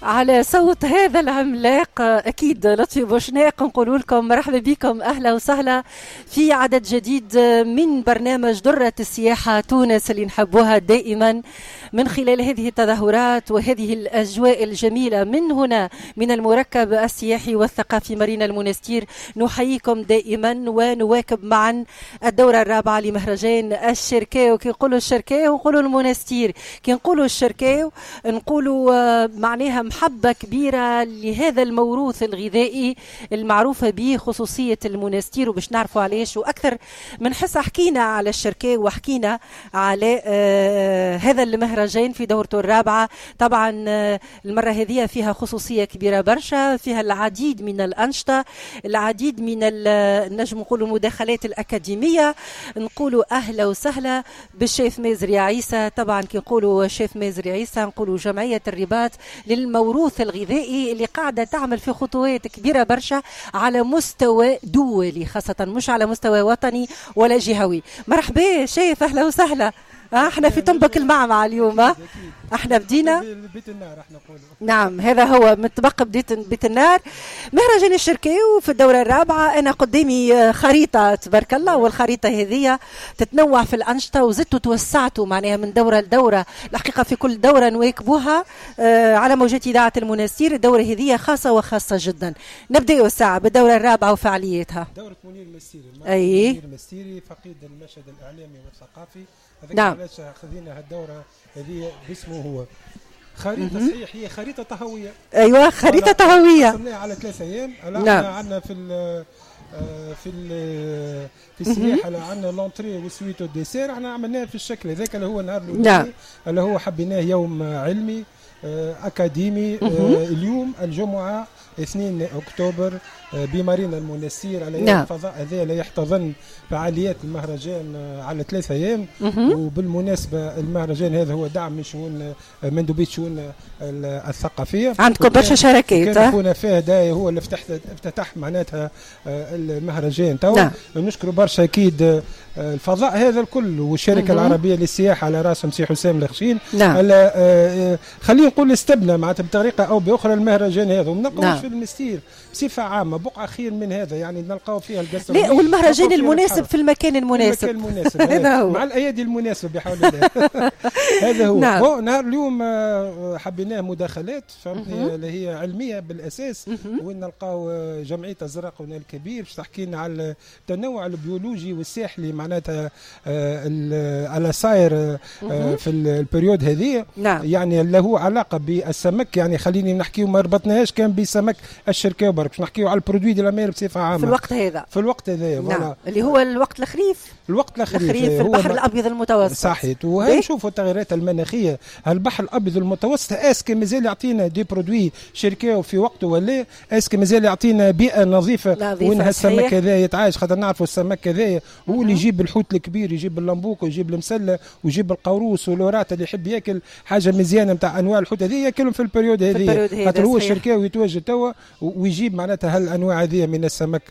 على صوت هذا العملاق أكيد لطفي بوشناق، نقول لكم مرحبا بكم، أهلا وسهلا في عدد جديد من برنامج درة السياحة تونس اللي نحبوها دائما من خلال هذه التظاهرات وهذه الأجواء الجميلة من هنا من المركب السياحي والثقافي مارينا المنستير. نحييكم دائما ونواكب معا الدورة الرابعة لمهرجان الشركاو. كي نقولوا الشركاو نقولوا المنستير، كي نقولوا الشركاو نقولوا معناها محبة كبيرة لهذا الموروث الغذائي المعروفة به خصوصية المنستير، وباش نعرفوا علاش. وأكثر من حصة حكينا على الشركاو وحكينا على هذا المهرجان في دورته الرابعة. طبعا المرة هذه فيها خصوصية كبيرة برشا، فيها العديد من الأنشطة، العديد من نجم نقولوا المداخلات الأكاديمية. نقولوا أهلا وسهلا بالشيف مازري عيسى. طبعا كي نقولوا شيف مازري عيسى نقولوا جمعية الرباط للموروث الغذائي اللي قاعدة تعمل في خطوات كبيرة برشا على مستوى دولي، خاصة مش على مستوى وطني ولا جهوي. مرحبا شيف، أهلا وسهلا. احنا في طنبك المعمعة اليوم، احنا بدينا بيت النار، احنا نقولوا نعم هذا هو متبقى بيت النار، مهرجان الشركاو في الدورة الرابعة. انا قدامي خريطة تبارك الله، والخريطة هذه تتنوع في الأنشطة وزدتوا توسعتوا معناها من دورة لدورة. الحقيقة في كل دورة نواكبوها على موجات إذاعة المنستير. الدورة هذه خاصة وخاصة جدا. نبدأ الساعة بالدورة الرابعة وفعالياتها. دورة منير المستيري، أي منير المستيري فقيد المشهد الإعلامي والثقافي. نعم، علاش خذينا هالدورة هذه باسمه هو. خريطة صحيح هي خريطة طهوية. أيوة خريطة طهوية. قسمناها على 3 أيام. نعم. عندنا في السياحة عندنا l'entrée وال suite وال dessert. احنا عملناها في الشكل هذاك اللي هو النهار الأولاني. نعم. اللي هو حبيناه يوم علمي أكاديمي. اليوم الجمعة 2 أكتوبر بمارينا المنستير على نعم. الفضاء هذا اللي يحتضن فعاليات المهرجان على 3 أيام. وبالمناسبة المهرجان هذا هو دعم من شؤون مندوبية شؤون الثقافية. عندكم برشا شراكات. كان خونا فهد هو اللي افتتح معناتها المهرجان تو. نعم. نشكر برشا أكيد الفضاء هذا الكل والشركة العربية للسياحة على راسهم سي حسام الخشين. نعم. خلينا نقول استبنى معناتها بطريقة أو بأخرى المهرجان هذا، ونلقاوش نعم. في المستير بصفة عامة بقعة خير من هذا، يعني نلقاو فيها القصر. لا، والمهرجان المناسب في المكان المناسب. المكان المناسب هذا هو، مع الأيادي المناسبة بحول الله. هذا هو. نعم. نهار اليوم حبيناه مداخلات فهمتني اللي هي علمية بالأساس، وين نلقاو جمعية أزرقنا الكبير باش تحكي لنا على التنوع البيولوجي والساحلي معناتها على صاير في ال période هذه. نعم. يعني اللي هو علاقة بالسمك، يعني خليني نحكيو ما ربطناهاش كان بسمك الشركاو برك، باش نحكيو على ال produits de la mer بصفة عامة في الوقت هذا. في الوقت هذا نعم. اللي هو الوقت الخريف. الوقت الخريف في البحر الأبيض المتوسط. صحيح. وهي نشوفوا التغيرات المناخية، البحر الأبيض المتوسط est-ce que مازال يعطينا des produits شركاو في وقته ولا est-ce que مازال يعطينا بيئة نظيفة وين هالسمك هذا يتعايش؟ خاطر نعرفوا السمك هذا هو اللي يجيب الحوت الكبير، يجيب اللمبوك ويجيب المسله ويجيب القاروص والورات اللي يحب ياكل حاجة مزيانه نتاع انواع الحوت هذه ياكلهم في ال période هذه، خاطر هو الشركاوي يتواجد توا ويجيب معناتها هالانواع هذه من السمك.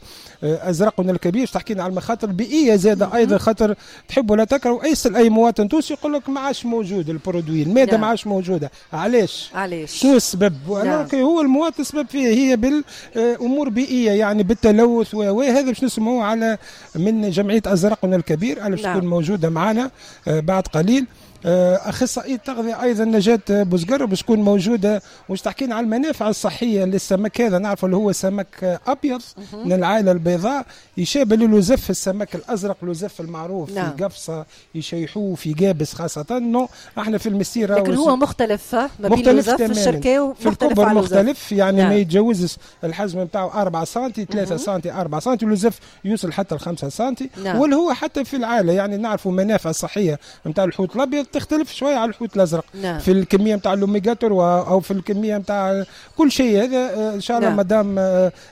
ازرقنا الكبير تحكينا على المخاطر البيئية زاده ايضا، خاطر تحب ولا تكره ايسال اي مواطن تونسي يقول لك ما عادش موجود ال produit، المادة نعم. ما عادش موجودة. علاش؟ شنو السبب؟ نعم. هو المواطن السبب فيه هي بالامور بيئية، يعني بالتلوث وهذا باش نسمعوه على من جمعية ازرقنا الكبير على باش نعم. تكون موجودة معنا بعد قليل. أخصائية التغذية أيضا نجاة بوزقر باش تكون موجودة وش تحكينا على المنافع الصحية للسمك هذا. نعرف اللي هو سمك أبيض من العائلة البيضاء يشابه للوزف السمك الأزرق، الوزف المعروف نعم. في قفصة يشيحوه في قابس خاصة. non احنا في المسيرة لكن هو مختلف ما بين الوزف الشركاو في الكبر مختلف يعني نعم. ما يتجاوزش الحجم نتاعو 4 سنتي 3 سنتي 4 سنتي، الوزف يوصل حتى 5 سنتي نعم. واللي هو حتى في العائلة يعني نعرفوا منافع الصحية نتاع الحوت الأبيض تختلف شوية على الحوت الازرق نعم. في الكمية نتاع الاوميغا 3 او في الكمية نتاع كل شيء هذا. ان شاء الله نعم. مدام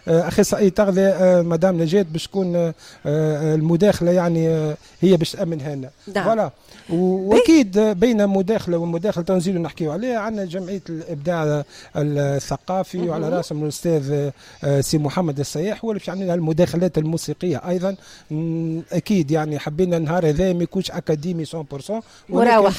اخصائية تغذية مدام نجاة باش تكون المداخلة يعني هي باش تامنها لنا نعم. voilà. واكيد بين مداخله ومداخله تنزيل نحكيو عليها عندنا جمعية الابداع الثقافي وعلى راسهم الاستاذ سي محمد السياح هو اللي باش يعمل لنا المداخلات الموسيقية ايضا. اكيد يعني حبينا النهار هذا ما يكونش اكاديمي 100% مراوح